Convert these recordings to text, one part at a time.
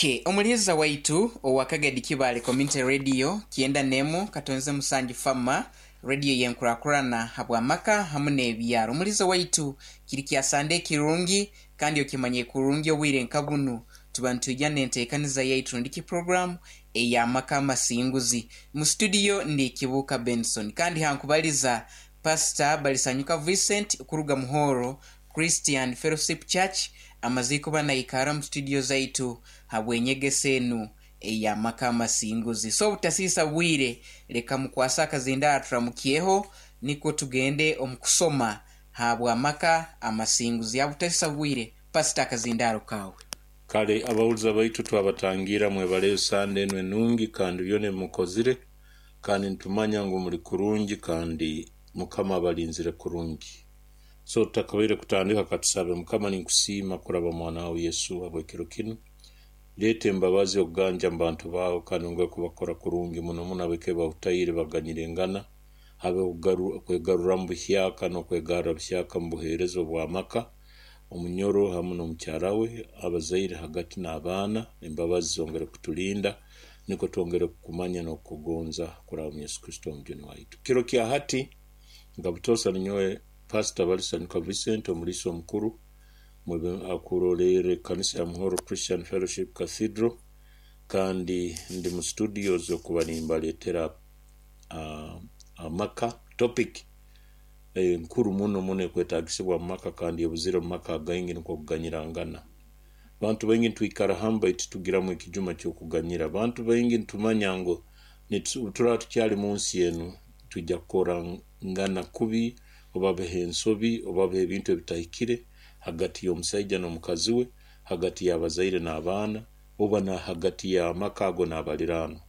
Ok, omuliiza waitu owa Kagadi Kibaale Community Radio 91 katonze musanju Fama Radio y'enkurakurana habw'amaka hamu n'ebyaro. Omuliiza waitu kiri kya Sande ekirungi kandi okimanye kurungi obwire nka bunu tuba nitwija n'enteekaniza yaitu rundiki puroguramu ey'amaka amasinguzi. Mu situdiyo ndi Kibuuka Benson kandi hankubaliza Pasita Balisanyuka Vincent kuruga Muhoro Christian Fellowship Church amaze kuba naikara mu studio zaitu habw'enyegesa enu ey'amaka amasinguzi. So obutasiisa bwire leka mukwase akazindaaro turamukyeho nikwo tugende omu kusoma habw'amaka amasinguzi. Habutasiisa bwire, Pasita akazindaaro kaawe. Kale abahuliza baitu twabatangiira mwebaleyo Sande enu enungi kandi byona ebimukozire kandi nitumanya ngu muli kurungi kandi Mukama abalinzire kurungi. So tutakabaire kutandika katusabe. Mukama ninkusiima kuraba mwana wawe Yesu habw'ekiro kinu. Leeta embabazi okuganja mu bantu baawe kandi ongere kubakora kurungi muno muno ab'eka bahutaire baganyirengana habeho okwegaruramu buhyaka n'okwegarra buhyaka mu buheereza obw'amaka, omunyoro hamu n'omukyara we, abazaire hagati n'abaana. Embabazi zongere kutulinda nikwo twongere kukumanya n'okukugonza kuraba omu Yesu Kristo Omujuni waitu. Kiro kya hati nka butoosa ninyowe Pasita Balisanyuka Vincent omuliisa omukuru akurolerra ekanisa ya Muhoro Christian Fellowship Cathedral kandi ndi mu studios okuba nimbaletera amaka topic enkuru muno muno ekwetagisibwa mu maka kandi ebuzire mu maka againgi nikwo kuganyirangana. Bantu baingi nitwikara hamu baitu titugiramu ekijuma ky'okuganyira. Bantu baingi nitumanya ngu obuturaba tukyali munsi enu twija kukorangana kubi oba habeho ensobi oba habeho ebintu ebitahikire hagati y'omusaija n'omukazi we, hagati y'abazaire n'abaana, oba na hagati y'amaka ago n'abaliraanwa.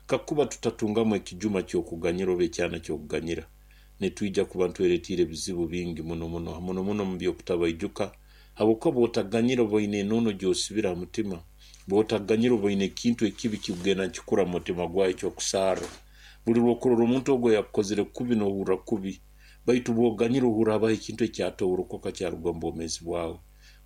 Kakuba tutatungamu ekijuma ky'okuganyira oba ekyana ky'okuganyira, nitwija kuba nitweretiire ebizibu bingi muno muno, muno muno omu by'okutabaijuka. Habwokuba bw'otaganyira oba oine enono gy'osibire ha mutima. Bw'otaganyira oba oine ekintu ekibi kikugenda nikikura mu mutima gwawe eky'okusarra. Buli lw'okurora omuntu ogu ayakukozire kubi n'ohurra kubi. Baitu bw'oganyira ohurra habaho ekintu ekyatoorokoka kyaruga omu bwomeezi bwawe.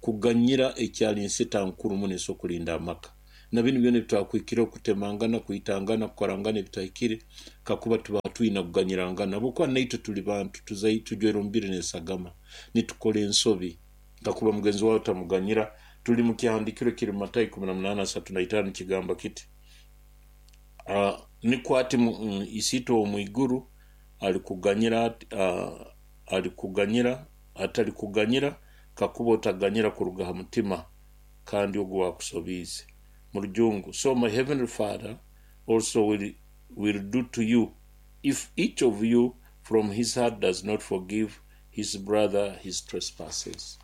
Kuganyira ekyali nsita nkuru muno esobora kulinda amaka. Na binu byona ebitwakuhikireho, kutemangana, kwitangana, kukorangana ebitahikire, kakuba tuba twina kuganyirangana. Habwokuba naitwe tuli bantu, tujwaire omubiri n'esagama, nitukora ensobi. Kakuba mugenzi wawe otamuganyira, tuli mu kyahandiikirwe ekiri mu Matayo 18:35 nikigamba kiti, Nikwo ati Isiitwe ow'omu iguru alikuganyira, alikuganyira, atalikuganyira kakuba otaganyira kuruga ha mutima kandi ogu ow'akusobiize. Mu Rujungu, So my heavenly Father also will, will do to you if each of you from his heart does not forgive his brother his trespasses.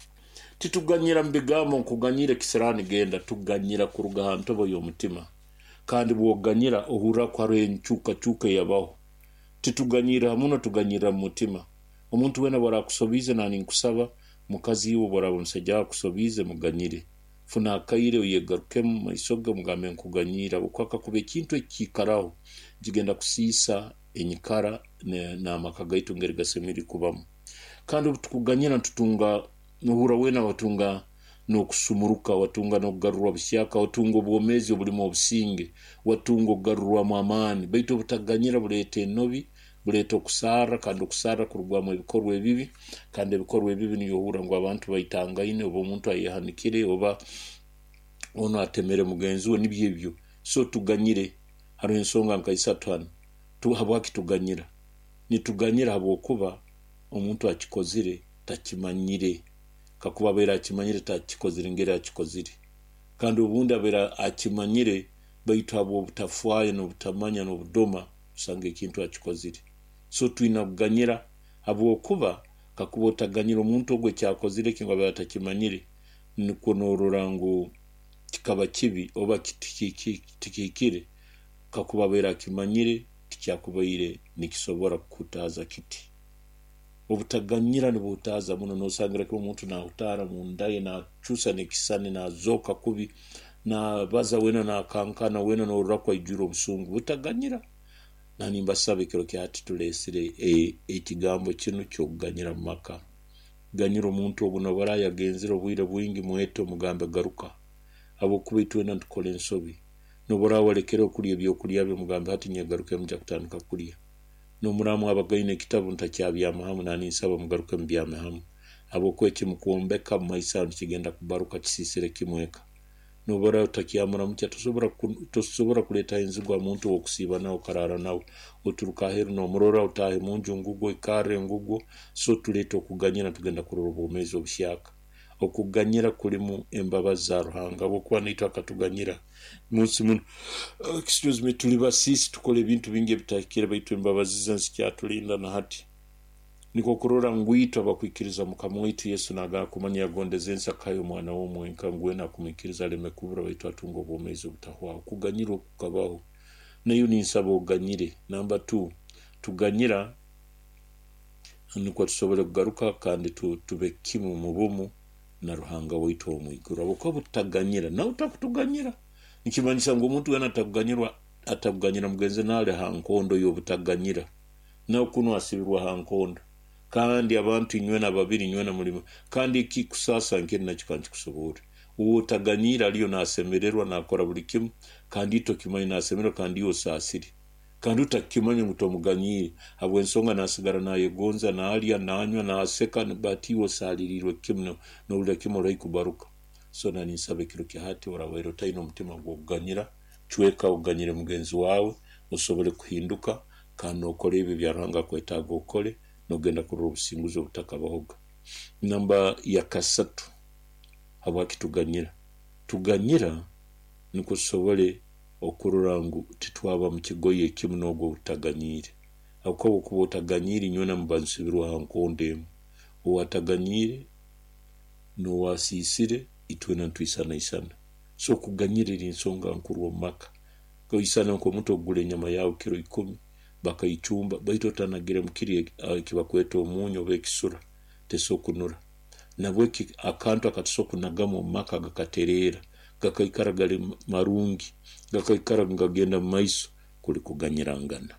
Tituganyira mu bigambo nkuganyire ekisiraani genda, tuganyira kuruga ha ntobo y'omutima. Kandi bw'oganyira ohurra ku haroho enkyukakyuka eyabaho. Tituganyirra ha munwa, tuganyirra mu mutima. Omuntu weena obu araakusobiize, na ninkusaba, mukazi iwe obu oraaba omusaija waawe akusobiize, muganyire. Funa akaire oyegarukemu mu maiso ge omugambe nkuganyiire habwokuba kakuba ekintu eki kiikaraho, nikigenda kusiisa enyikara n'amaka gaitu engeri gasemeriire kubamu. Kandi obu tukuganyira nitutunga, nohurra weena watunga n'okusumuruka, watunga n'okugarurwa buhyaka, watunga obwomeezi obulimu obusinge, watunga okugarurwamu amaani. Baitu obutaganyira buleeta enobi, buleeta okusarra kandi okusarra kurugwamu ebikorwa ebibi kandi ebikorwa ebibi niyo ohurra ngu abantu baitangaine oba omuntu ayehanikire oba onu atemere mugenzi we nibyo ebyo. So tuganyire. Haroho ensonga nka isatu hanu. Habwaki tuganyira? Nituganyira habwokuba omuntu akikozire takimanyire. Kakuba abaire akimanyire takikozire ngeri akikozire. Kandi obundi abaire akimanyire baitu habw'obutafwayo n'obutamanya n'obudoma osanga ekintu akikozire. So twina kuganyira habwokuba kakuba otaganyira omuntu ogu ekyakozire eki ngu abaire atakimanyire nikwo norora ngu kikaba kibi oba tikihikire kakuba abaire akimanyire tikyakubaire nikisobora kukuhutaaza kiti. Obutaganyira nibuhutaaza muno nosangira kimu omuntu nahutaara munda ye nacusa n'ekisisani nazooka kubi nabaza weena nakankana weena norora ku aijwire obusungu. Butaganyira. Na nimbasaba ekiro kya hati tulesire ekigambo kinu ky'okuganyira mu maka. Ganyira omuntu ogu nobu araba yagenzire obwire bwingi mwete omugambe garuka. Habwokuba itwena nitukora ensobi. N'obu oraaba walekere okulya ebyokulya bye, mugambe hati nyegarukemu nja kutandika kulya. N'omuraaba mwabagaine ekitabu ntakyabyama hamu, naninsaba mugaruke mubyame hamu. Habwokuba ekimukwombeka mu maiso aho nikigenda kubaruka kisiisire kimu eka. N'obu oraaba otakyamuramukya, tosobora kuleetaho enzigu ha muntu ow'okusiiba nawe okaraara nawe. Oturuka aheeru n'omurora, otaahe munju ngugwo, oikarre ngugwo. So tuleete okuganyira nitugenda kurora obwomeezi obuhyaka. Okuganyira kulimu embabazi za Ruhanga habwokuba naitwe akatuganyira. Munsi munu, excuse me, tuli basiisi tukora ebintu bingi ebitahikire baitu embabazi ze nizikyatulinda na hati. Nikwo kurora ngu itwe abakwikiriza Mukama waitu Yesu nagamba kumanya yagondeze ensi akahayo omwana we omwenka ngu wena akumwikiriza aleme kubura baitu atunge obwomeezi obutahwaho. Okuganyira oku kukabaho. Naiwe ninsaba oganyire. Namba 2, tuganyira nukwo tusobole kugaruka kandi tube kimu mu bumu na Ruhanga waitu ow'omu iguru. Habwokuba obututaganyira, nawe takutuganyira. Nikimanyisa ngu omuntu wena atakuganyira mugenzi naali ha nkondo y'obutaganyira. Nawe kunu asibirwe ha nkondo. Kandi abantu inywena babiri inywena mulimo. Kandi ekikusaasa nkeri nakyo kankikusoborre. Ow'otaganyiire aliyo naasemererwa naakora buli kimu, kandi itwe okimanya naasemererwa kandi iwe osaasire. Kandi otakukimanya ngu tomuganyiire habw'ensonga naasigara naayegonza, naalya, naanywa, naaseka, but iwe osaaliriirwe kimu nohurra kimu ori haihi kubaruka. So naninsaba ekiro kya hati orabaire otaine omutima gw'okuganyira, cweka oganyire mugenzi waawe osobole kuhinduka kandi nookora ebi ebya Ruhanga akwetaaga okole, nogenda kurora obusinguzi obutakabahoga. Namba ya kasatu, habwaki tuganyira? Tuganyira nukwo tusobole okurora ngu titwaba mu kigoye ekimu n'ogwo ou tutaganyiire. Habwokuba obwokuba otaganyiire inywena muba nsibirwe ha nkondo emu. Owataganyiire n'owasiisire itwena nitwisanaisana. So okuganyira eri nsonga nkuru omu maka. Oisana nk'omuntu okugura enyama yaawe kiro ikumi bakaicumba baitu otanagiremu kiri ekibakweta omunyu oba ekisura tesobola kunura. Nabweki akantu akatusobora kunagamu omu maka gakatereera, gakaikara gali marungi, gakaikara nigagenda mu maiso kuli kuganyirangana.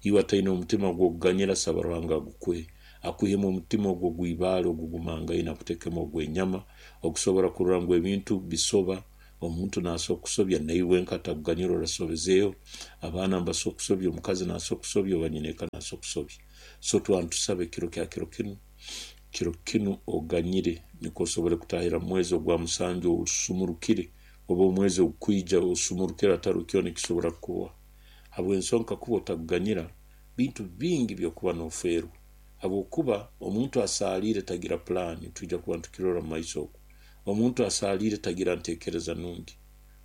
Iwe ataine omutima gw'okuganyira saba Ruhanga agukuhe, akwihemu omutima ogwo ogw'ibaale ogugumangaine akutekemu ogw'enyama ogusobora kurora ngu ebintu bisoba. Omuntu naasobora kukusobya naiwe wenka atakuganyira orasobezeeho, abaana nibasobora kukusobya, omukazi naasobora kukusobya oba nyineeka naasobora kukusobya. So twaba nitusaba ekiro kya kiro kinu, kiro kinu oganyire nukwo osobole kutahira mu mwezi ogwa musanju osumurukire oba omwezi ogukwija osumurukire hatariho kyona ekisobora kukuboha. Habw'ensonga kakuba otakuganyira, bintu bingi by'okuba noofeerwa. Habwokuba omuntu asaaliire tagira pulaani, twija kuba nitukirora mu maiso oku. Omuntu asaaliire tagira nteekereza nungi.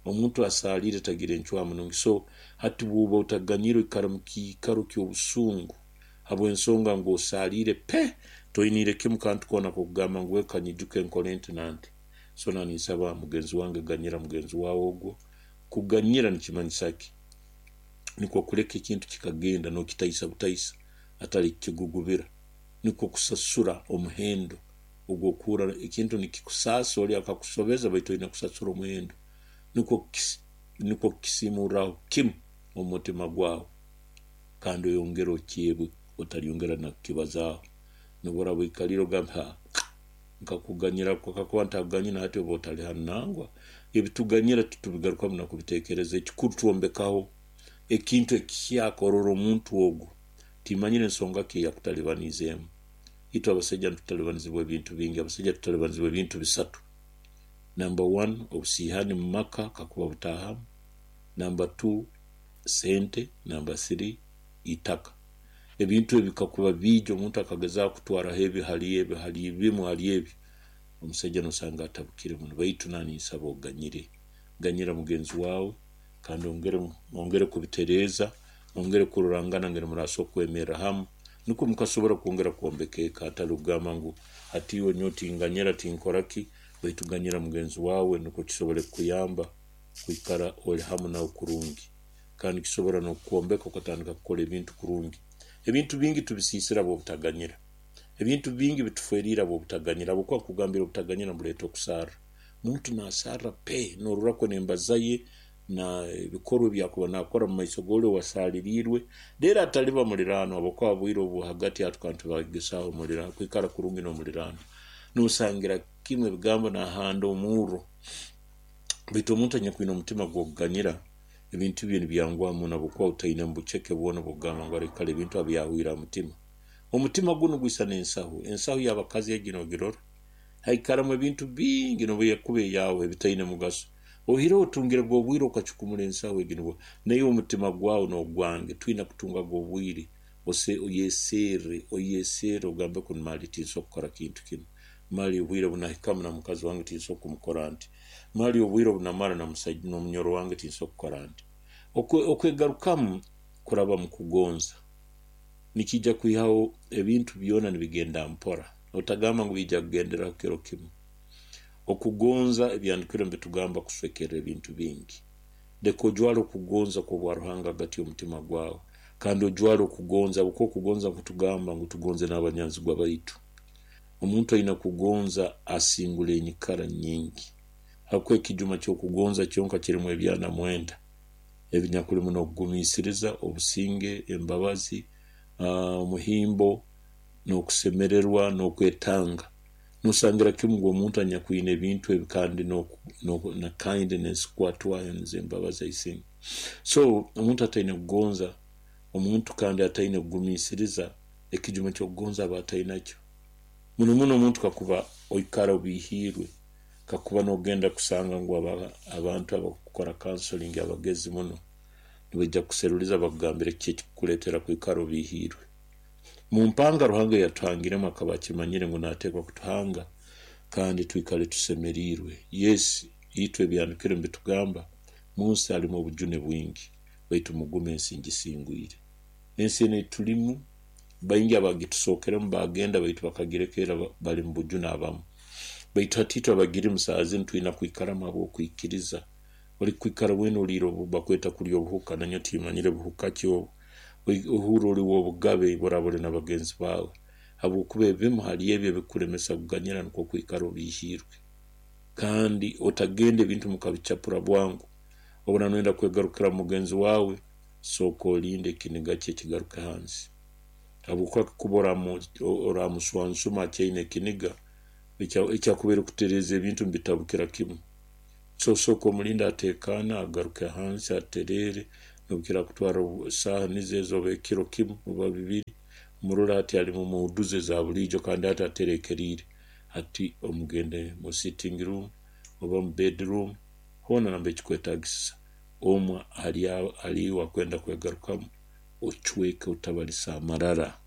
Omuntu asaaliire tagira encwamu nungi. So hati bw'oba otaganyire oikara mu kiikaro ky'obusungu habw'ensonga ngu osaaliire pe, toiniire kimu kantu koona k'okugamba ngu eka nyijuke nkole nti na nti. So naninsaba mugenzi wange ganyira mugenzi waawe ogwo. Kuganyira nikimanyisa ki? Nikwo kuleka ekintu kikagenda n'okitaisa butaisa hatali kukigugubira. Nikwo kusasura omuhendo ogw'okuhurra ekintu nikikusaasa oli akakusobeza baitu oine kusasura omuhendo. Nikwo kukisimurraho kimu omu mutima gwawe kandi oyongere okyebwe otalyongera na kukibazaaho. N'obu oraaba oikaliire ogambe, Ha, nkakuganyira kakuba ntakuganyira hati oba otali hanu. Nangwa, ebituganyira titubigarukamu na kubiteekereza. Ekikuru twombekaho ekintu ekihyaka orora omuntu ogu timanyire nsonga ki eyakutalibaniizeemu. Itwe abasaija nitutalibanizibwa ebintu bingi. Abasaija tutalibanizibwa ebintu bisatu. Namba wani, obusiihani mu maka kakuba butaahamu. Namba tu, sente. Namba siri, itaka. Ebintu ebi kakuba biija omuntu akagezaaho kutwaraho ebi hali ebi hali bimu hali ebi, omusaija nosanga atabukire muno. Baitu naninsaba oganyire. Ganyira mugenzi waawe kandi ongere kubitereeza, mwongere kurorangana ngeri murasobora kwemerra hamu nukwo mukasobora kwongera kwombeka eka hatali kugamba ngu hati iwe nyowe tinganyira tinkora ki, baitu ganyira mugenzi waawe nukwo kisobole kukuyamba kwikara oli hamu nawe kurungi. Kandi kisobora n'okukwombeka okatandika kukora ebintu kurungi. Ebintu bingi tubisiisira habw'obutaganyira. Ebintu bingi bituferiire habw'obutaganyira habwokuba nkugambire obutaganyira nibuleeta okusarra. Omuntu naasarra pe norora kwe n'embaza ye na ebikorwa ebi akuba naakora mu maiso g'oli owasaaliriirwe. Reero ataliba muliraanwa habwokuba obwire obu hagati aho tukaba nitubagesaaho kwikara kurungi n'omuliraanwa. Noosangira kimu ebigambo naahanda omurro. Baitu omuntu anyakwine omutima gw'okuganyira, ebintu bye nibyanguha muno habwokuba otaine buceke bwona obw'okugamba ngu kale ebintu abyahwire ha mutima. Omutima gunu gwisana ensahu. Ensahu y'abakazi egi nogirora, haikaramu ebintu bingi nobu ekuba eyaawe ebitaine mugaso. Oihireho otungirege obwire okacukumura ensahu egi nibwo naiwe omutima gwawe n'ogwange twina kutungaga obwire oyeserre oyeserre ogambe kunu mali tinsobora kukora kintu kinu. Mali obwire obunahikamu na mukazi wange tinsobora kumukora nti. Mali obwire obunamara n'omunyoro wange tinsobora kukora nti. Okwegarukamu kuraba mu kugonza nikiija kwihaho ebintu byona nibigenda mpora. Otagamba ngu biija kugenderaho kiro kimu. Okugonza ebyahandiikirwe nibitugamba kuswekerra ebintu bingi. Leka ojwale okugonza kw'obwa Ruhanga hagati y'omutima gwawe, kandi ojwale okugonza habwokuba okugonza kutugamba ngu tugonze n'abanyanzigwa baitu. Omuntu aina kugonza asingura enyikara nyingi, habwokuba ekijuma ky'okugonza kyonka kirimu ebyana 9 ebinyakulimu n'okugumiisiriza, obusinge, embabazi, omuhimbo, n'okusemererwa, n'okwetanga. Nosangira kimu ngu omuntu anyakwine ebintu ebi kandi na kindness kukwatwayo nizo embabazi I think. So omuntu ataine kugonza, omuntu kandi ataine kugumiisiriza, ekijuma ky'okugonza aba atainakyo. Muno muno omuntu kakuba oikara obiihiirwe, kakuba nogenda kusanga ngu abantu abakukora counseling abagezi muno, nibaija kukuseruliza bakugambire kiki ekikukuleetera kwikara obiihiirwe. Mu mpanga Ruhanga ei yatuhangiremu akaba akimanyire ngu naateekwa kutuhanga kandi twikale tusemeriirwe. Yes, itwe ebyahandiikirwe nibitugamba munsi halimu obujune bwingi, baitu mugume ensi ngisingwire. Ensi enu ei tulimu, baingi abagitusookeremu baagenda baitu bakagireka era bali mu bujune abamu. Baitu hati itwe abagirimu saaha zinu twina kwikaramu habw'okwikiriza. Orikwikara weena oliire bakweta kulya obuhuka, nanyowe timanyire buhuka ki obu. Ohurra oli w'obugabe obu oraaba oli na bagenzi baawe, habwokuba ebimu hali ebi ebikukulemesa kuganyira nukwo kwikara obiihiirwe. Kandi otagenda ebintu mukabicapura bwangu. Obu oraaba noyenda kwegarukira mugenzi waawe, sooka olinde ekiniga kye kigaruke hansi. Habwokuba kakuba oramuswansuma akyaine ekiniga, ekyakubaire kutereeza ebintu nibitabukira kimu. So sooka omulinde ateekaane, agaruke hansi atereere, n'obu kirakutwarra saaha nizo ezo oba ekiro kimu oba bibiri, omurole hati ali mu muudu ze eza buliijo kandi hati atereekeriire. Hati omugende mu sitting room oba mu bedroom, hoona nambere kikwetaagisisa, omwe hali iwe akwenda kwegarukamu, ocweke otabalisa amarara.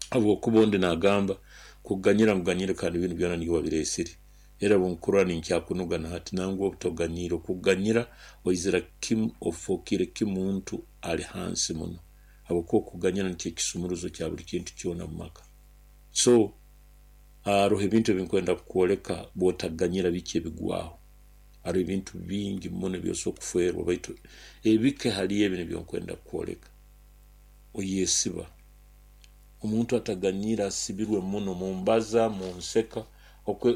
Habwokuba ondi naagamba kuganyira nguganyire kandi binu byona niiwe wabireesire. Era obu nkurora ninkyakunuga na hati nangwa obu toganyiire. Okuganyira oizira kimu ofookire kimu muntu ali hansi muno habwokuba okuganyira nikyo ekisumuruzo kya buli kintu kyona mu maka. So haroho ebintu ebinkwenda kukwoleka bw'otaganyira biki ebigwaho. Haroho ebintu bingi muno ebi osobola kufeerwa baitu ebike hali ebi nibyo nkwenda kukwoleka. Oyesiba. Omuntu ataganyiire asibirwe muno mu mbaza, mu nseka.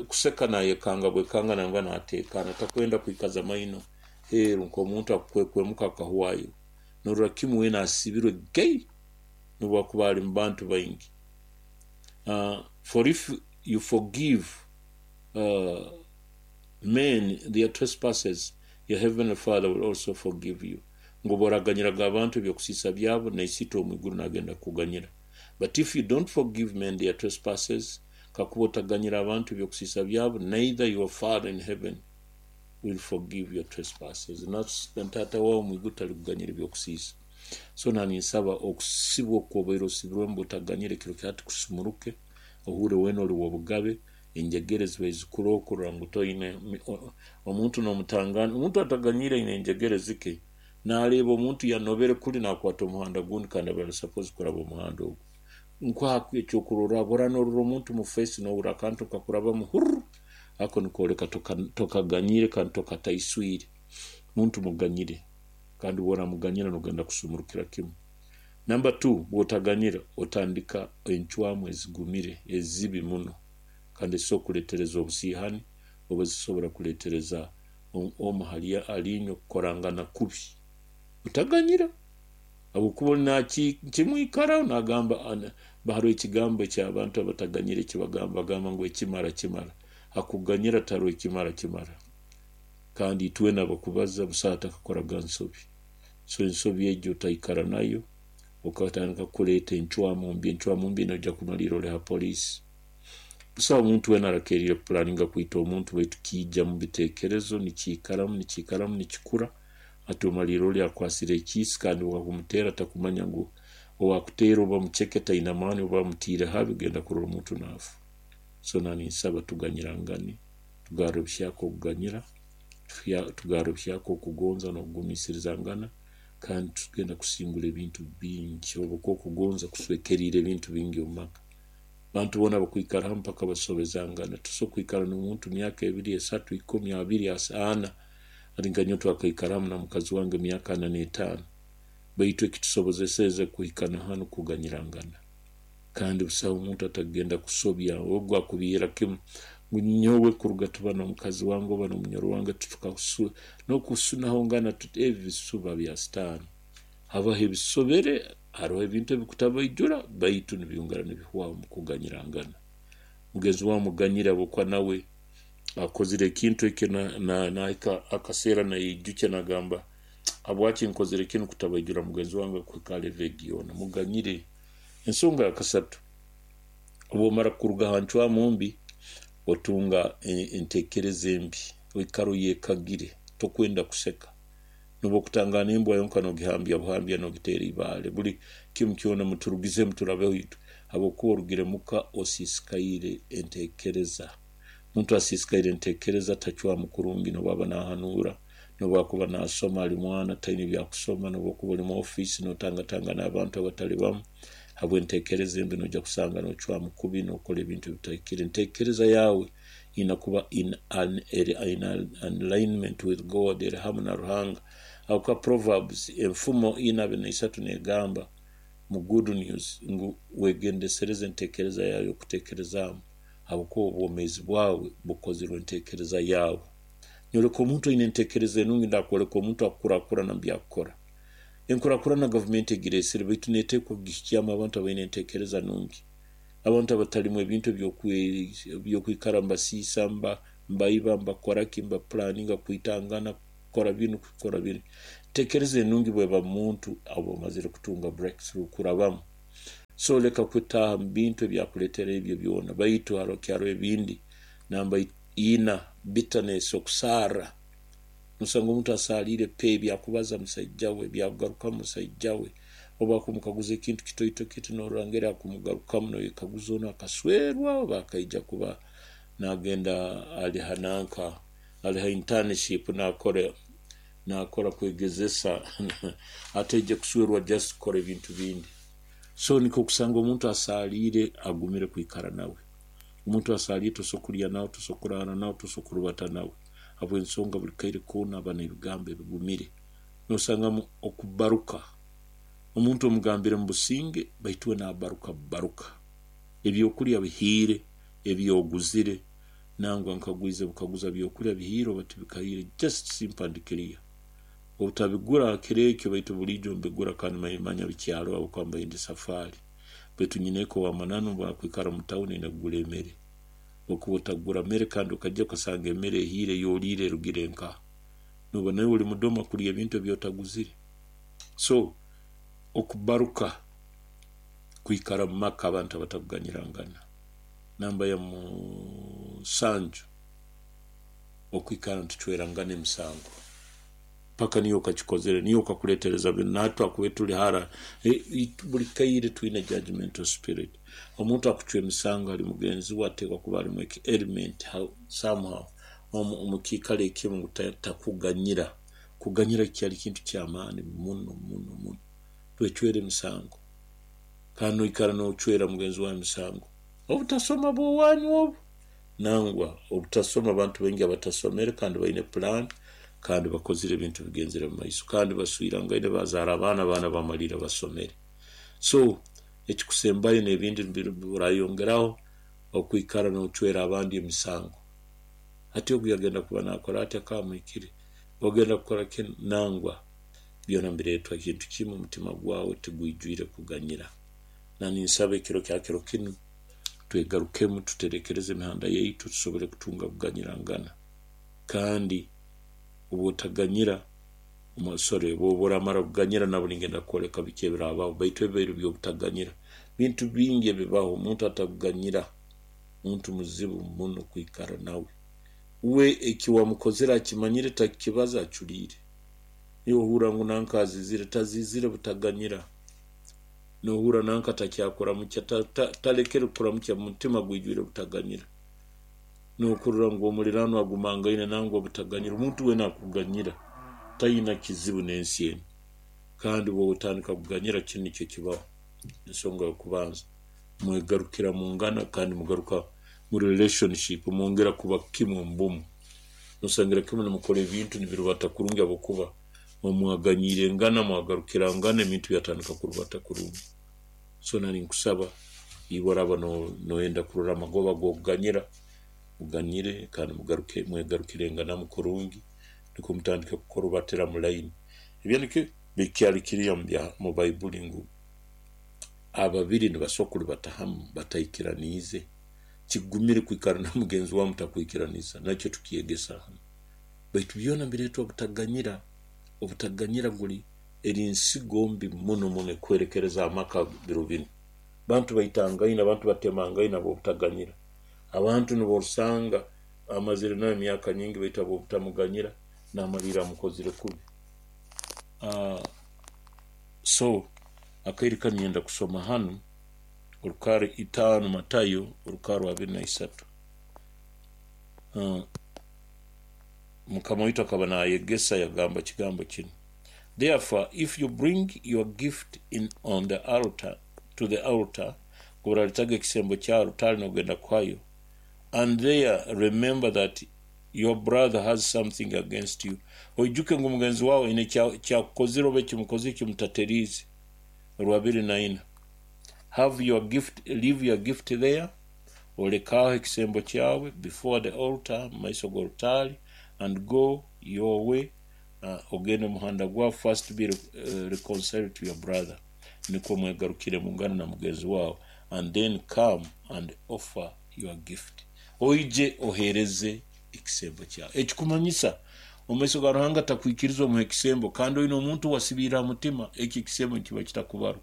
Kuseka nayekanga bwekanga nangwa nateekaana, takwenda kwikaza maino heeru nk'omuntu akukwekwemuka akahwayo. Norora kimu weena asibirwe gei nobu akuba ali mu bantu baingi. For if you forgive men their trespasses, your heavenly Father will also forgive you. Ngu obu oraganyiraga abantu eby'okusiisa byabo, na Isiitwe ow'omu iguru naagenda kukuganyira. But if you don't forgive men their trespasses, kakuba otaganyira abantu eby'okusiisa byabo, neither your Father in heaven will forgive your trespasses. Na Taata waawe omu iguru talikuganyira eby'okusiisa. So naninsaba okusibwa oku obaire osibirwemu bw'otaganyira ekiro kya hati kusumuruke, ohuurre weena oli w'obugabe, enjegere zibaire zikuroho kurora ngu toine omuntu n'omutangana. Omuntu ataganyiire aine enjegere zike, naareeba omuntu yanobere kuli naakwata omuhanda gundi kandi abaire ali supposed kuraba omuhanda ogu. Nkuha ekyokurorraho, obu norora omuntu mu face nohurra akantu kakurabamu hurr, ako nikooleka tokaganyiire kandi tokataiswire. Muntu muganyire kandi obu oramuganyira nogenda kusumurukira kimu. Namba 2, bw'otaganyira otandika encwamu ezigumire ezibi muno kandi ezisobora kuleetereza obusiihani oba ezisobora kuleetereza omu hali inywe kukorangana kubi. Otaganyira habwokuba oli kimwikaraho naagamba haroho ekigambo eky'abantu abataganyira eki bagamba, bagamba ngu ekimara kimara. Hakuganyira tiharoho ekimara kimara. Kandi itwena abakubaza busaho atakakoraga nsobi. So ensobi egyo otaikara nayo, okatandika kuleeta encwamu mbi. Encwamu mbi noija kumaliira oli ha poliisi. Busaho omuntu weena arakeriire kupulaninga kwita omuntu, baitu kiija mu biteekerezo, nikiikaramu, nikiikaramu, nikikura, hati omaliira oli akwasire ekiisi kandi owakumuteera takumanya ngu owakuteera oba muceke taina maani oba amutiire habi, ogenda kurora omuntu naafa. So naninsaba tuganyirangane, tugarre obuhyaka okuganyira, tugarre obuhyaka okugonza n'okugumiisirizangana, kandi tugenda kusingura ebintu bingi habwokuba okugonza kuswekeriire ebintu bingi omu maka. Abantu boona abakwikara hamu mpaka basobezangana. Tosobora kwikara n'omuntu myaka 2, 3, 10, 20, 40. Hati nka nyowe twakaikara hamu na mukazi wange emyaka 45. Baitu ekitusobozeseze kuhika na hanu kuganyirangana. Kandi busaho omuntu atagenda kusobya, ogu akubiihira kimu ngu nyowe kuruga tuba n'omukazi wange oba n'omunyoro wange n'okusunahongana ebi bisuba bya Sitaani. Habaho ebisobere, haroho ebintu ebikutabaijura, baitu nibyongera nibihwaho mu kuganyirangana. Mugenzi wawe muganyire habwokuba nawe akozire ekintu ekyo nahika akaseera nayeijukya nagamba habwaki nkozere kinu kutabaijura mugenzi wange kuhika ha level egi yoona. Muganyire. Ensonga ya kasatu, obu omara kuruga ha ncwamu mbi, otunga enteekereza embi, oikara oyekagire, tokwenda kuseka. Nobu okutangana embwa yonka nogihambya buhambya nogiteera ibaale. Buli kimu kyona muturugizemu turabeho itwe, habwokuba orugire muka osiisikaire enteekereza. Omuntu asiisikaire enteekereza tacwamu kurungi nobu aba nahanuura, nobu akuba nasoma ali mwana taine ebyakusoma, nobu okuba oli mu ofiisi notangatangana abantu abatali bamu, habw'enteekereza embi noija kusanga nocwamu kubi nokora ebintu ebitahikire. Enteekereza yaawe ina kuba in alignment with God, eri hamu na Ruhanga. Habwokuba Proverbs enfumo 4:23 negamba mu Good News ngu wegendesereze enteekereza yaawe y'okuteekerezaamu, habwokuba obwomeezi bwawe bukozirwe enteekereza yaawe. Nyoleka omuntu aine enteekereza enungi, ndakwoleka omuntu akukurakurana mu byakukora. Enkurakurana gavumenti egireesere, baitu neeteekwa kugihikyamu abantu abaine enteekereza nungi. Abantu abatalimu ebintu eby'okwikara mbasiisa, mbaiba, mbakora ki, mbapulaninga kwitangana, kukora binu, kukora biri. Enteekereza enungi bweba mu muntu, aba omazire kutunga breakthrough kurabamu. So leka kutaaha mu bintu ebyakuleetera ebyo byona, baitu haroho ebindi. Namba 4, bitterness, okusarra. Nosanga omuntu asaaliire pe ebyakubaza musaija we, ebyakugarukamu musaija we, obu akumukaguza ekintu kitoito kiti norora ngeri akumugarukamu noyekaguza onu akaswerwa oba akaija kuba nagenda ali ha nanka, ali ha internship nakora kwegezesa ataije kuswerwa just kukora ebintu bindi. So nikwo kusanga omuntu asaaliire agumire kwikara nawe. Omuntu asaaliire tosobora kulya nawe, tosobora kuraara nawe, tosobora kurubata nawe. Habw'ensonga buli kaire koona aba n'ebigambo ebigumire. Nosangamu okubaruka. Omuntu omugambire mu businge baitu we nabaruka bubaruka. Ebyokulya bihiire, ebyoguzire, nangwa nkagwize bukaguza byokulya bihiire oba tibikahiire, just simple and clear. Obutabigura ha kiro ekyo baitu buliijo mbigura kandi manya bikyaro habwokuba mbaire ndi safari. Baitu nyineeka ow'amananu bwakwikara mu tawuni aine kugura emere. Okuba otagura mere kandi okaija okasanga emere ehiire ey'oliire erugire nkaha? Noba naiwe oli mudoma kulya ebintu eby'otaguzire. So okubaruka kwikara mu maka abantu abatakuganyirangana. Namba ya 7, okwikara nitucwerangana emisango. Paka niyo okakikozere, niyo okakuleetereza binu, nahati twakubaire tuli hara, buli kaire twine judgmental spirit. Omuntu akucwa emisango hali mugenzi we ateekwa kuba alimu element somehow omu kiikaro ekimu ngu takuganyira. Kuganyira kikyali kintu ky'amaani muno muno muno. Twecwera emisango. Kandi noikara nocwera mugenzi wawe emisango. Obutasoma bw'owanyu obu. Nangwa obutasoma, abantu baingi abatasomere kandi baine pulaani kandi bakozire ebintu bigenzere mu maiso kandi baswirangaine bazaara abaana, abaana bamalira basomere. So ekikusembayo n'ebindi orayongeraho okwikara nocwera abandi emisango. Hati ogu yagenda kuba nakora ati akaba amuhikire, ogenda kukora kinu, nangwa byona nibireetwa kintu kimu, omutima gwawe tigwijwire kuganyira. Na ninsaba ekiro kya kiro kinu twegarukemu tuterekereze emihanda yaitu tusobole kutunga kuganyirangana. Kandi Obwotaganyira, sorry, bwoba oramara kuganyira nabo ningenda kwoleka biki ebirabaho, baitu ebibaire by'obutaganyira. Bintu bingi ebibaho, omuntu atakuganyira, muntu muzibu muno kwikara nawe. We eki wamukozere akimanyire, takikibaza, aculiire. Niwe ohurra ngu nanka azizire, tazizire butaganyira. Nohurra nanka takyakuramukya, talekere kukuramukya, mutima gwijwire butaganyira. Nokurora ngu omuliraano agumangaine nangwa butaganyira. Omuntu weena akuganyira tayina kizibu n'ensi enu. Kandi bw'otandika kuganyira kinu nikyo kibaho. Ensonga y'okubanza, mwegarukira mungana kandi mugaruka mu relationship, mwongera kuba kimu omu bumu. Nosangira kimu nimukora ebintu nibirubata kurungi habwokuba mwaganyiirengana, mwagarukirangana, ebintu byatandika kurubata kurungi. So nari nkusaba iwe oraba noyenda kurora amagoba g'okuganyira, muganyire kandi mugaruke mwegarukirenganamu kurungi nukwo mutandike kurubatira mu line. Ebyo nikyo bikyali kiriya mu Baibuli ngu ababiri nibasobora kurubata hamu bataikiraniize. Kigumire kwikara na mugenzi wawe mutakwikiraniza, nakyo tukyegesa hanu. Baitu byona bireetwa obutaganyira. Obutaganyira guli eri nsigo mbi muno muno ekuhwerekereza amaka biro binu. Bantu baitangaine, abantu batemangaine habw'obutaganyira. Abantu niborusanga amazire nawe emyaka nyingi baitu habw'obutamuganyira namalira amukozire kubi. So akaire kanu nyenda kusoma hanu orukara 5 Matayo orukara 23. Mukama waitu akaba nayegesa yagamba kigambo kinu. Therefore, if you bring your gift in on the altar to the altar, kubaraletaga ekisembo kya alutari nogenda kuhayo, and there remember that your brother has something against you. Oijuke ngu mugenzi wawe aine kyakukozire oba ekimukozire kimutateriize. Rwabiri naina. Have your gift, leave your gift there, olekaho ekisembo kyawe before the altar, mu maiso g'orutari, and go your way, ogende omuhanda gwawe, first be reconciled to your brother, nikwo mwegarukire mungana na mugenzi wawe, and then come and offer your gift. Oije ohereze ekisembo kyawe. Ekikumanyisa omu maiso ga Ruhanga takwikiriza omuha ekisembo kandi oine omuntu wasibiire ha mutima, eki ekisembo nikiba kitakubarwa.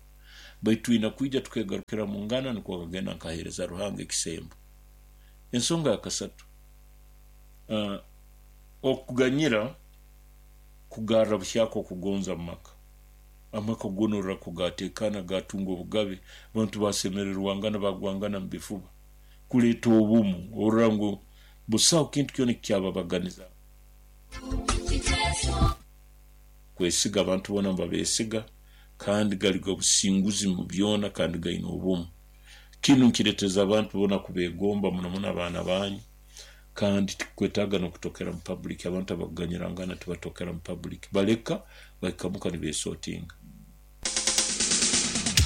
Baitu twina kwija tukegarukira mungana nukwo akagenda nkahereza Ruhanga ekisembo. Ensonga ya kasatu, okuganyira kugarra buhyaka okugonza mu maka. Amaka goona kugateekana gatunga obugabe, abantu basemererwangana bagwangana mu bifuba. Kuleeta obumu, orora ngu busaho kintu kyona ekikyababaganiza. Kwesiga abantu boona nibabesiga kandi gali g'obusinguzi mu byona kandi gaine obumu. Kinu nkireteza abantu boona kubegomba muno muno abaana banyu, kandi tikwetaaga n'okutokera mu public. Abantu abakuganyirangana tibatokera mu public, baleka bahikamuka nibesotinga.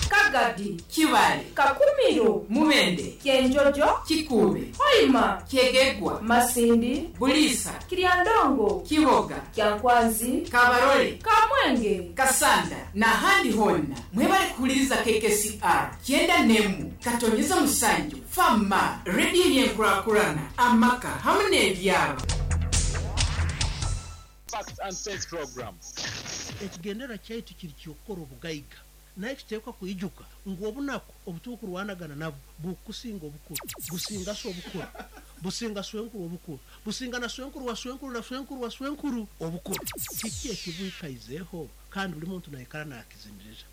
Kagadi, Kibale, Kakumiro, Mubende, Kyenjojo, Kikuube, Hoima, Kyegegwa, Masindi, Buliisa, Kiryandongo, Kiboga, Kyankwanzi, Kabarole, Kamwenge, Kasanda n'ahandi honna. Mwebale kuhuliriza KKCR 91 7 Fama rediyo y'enkurakurana amaka hamu n'ebyaro. Facts and Sense program. Ekigendera kyaitu kiri kyokukora obugaiga, naye kiteekwa kwijuka ngu obunaku obutukurwanagana nabo bukusinga obukuru, businga so obukuru, businga swenkuru obukuru, businga na swenkuru wa swenkuru na swenkuru wa swenkuru obukuru. Kiki ekibwikaizeho kandi buli muntu naikara nakizinirira.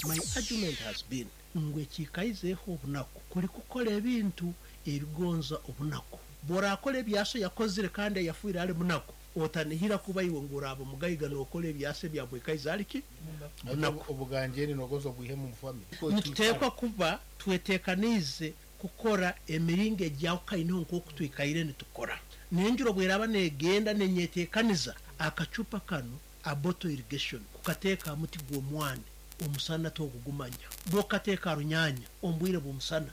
My argument has been ngu ekikaizeho obunaku kuli kukola ebintu ebigonza obunaku. Bw'orakora ebyaso yakozire kandi ayafuire ali munaku, otanihira kuba iwe ngu oraba mugaiga n'okora ebyasa ebyamwikaize aliki munaku. Obuganjeri nogonza obwihemu mu family. Nituteekwa kuba tweteekaniize kukora emiringo ejyahukaineho nk'oku twikaire nitukora. N'enjura obweraba negenda nenyeteekaniza akacupa kano aboto irrigation kukateeka muti gw'omwani omusana togugumanya. Bw'okateeka runyanya omu bwire bw'omusana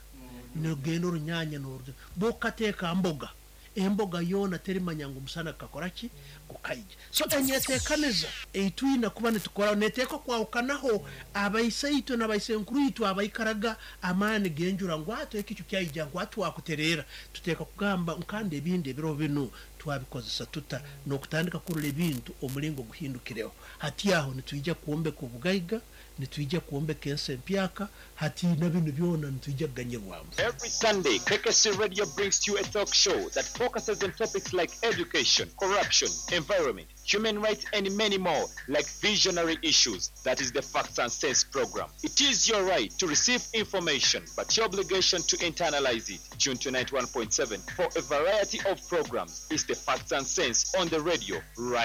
nogenda orunyanya n'oruja. Bw'okateeka mboga, emboga yoona terimanya ngu omusana gukakora ki gukaija. So enyeteekaniza eitwina kuba nitukora neteekwa kwahukanaho abaisaitwe n'abaisenkuru itwe abaikaraga amaani g'enjura ngu ati ekicu kyaija ngu ati wakutereera. Tuteekwa kugamba kandi ebindi ebiro binu Twabikozesa tuta n'okutandika kurora ebintu omulingo guhindukireho. Hati aho nitwija kwombeka obugaiga, nitwija kwombeka ensi empyaka. Hati na binu byona nitwija kuganyirwamu. Every Sunday, KKC Radio brings to you a talk show that focuses on topics like education, corruption, environment, human rights, and many more, like visionary issues. That is the Facts and Sense program. It is your right to receive information, but your obligation to internalize it. Tune to 91.7 for a variety of programs. It's the Facts and Sense on the radio right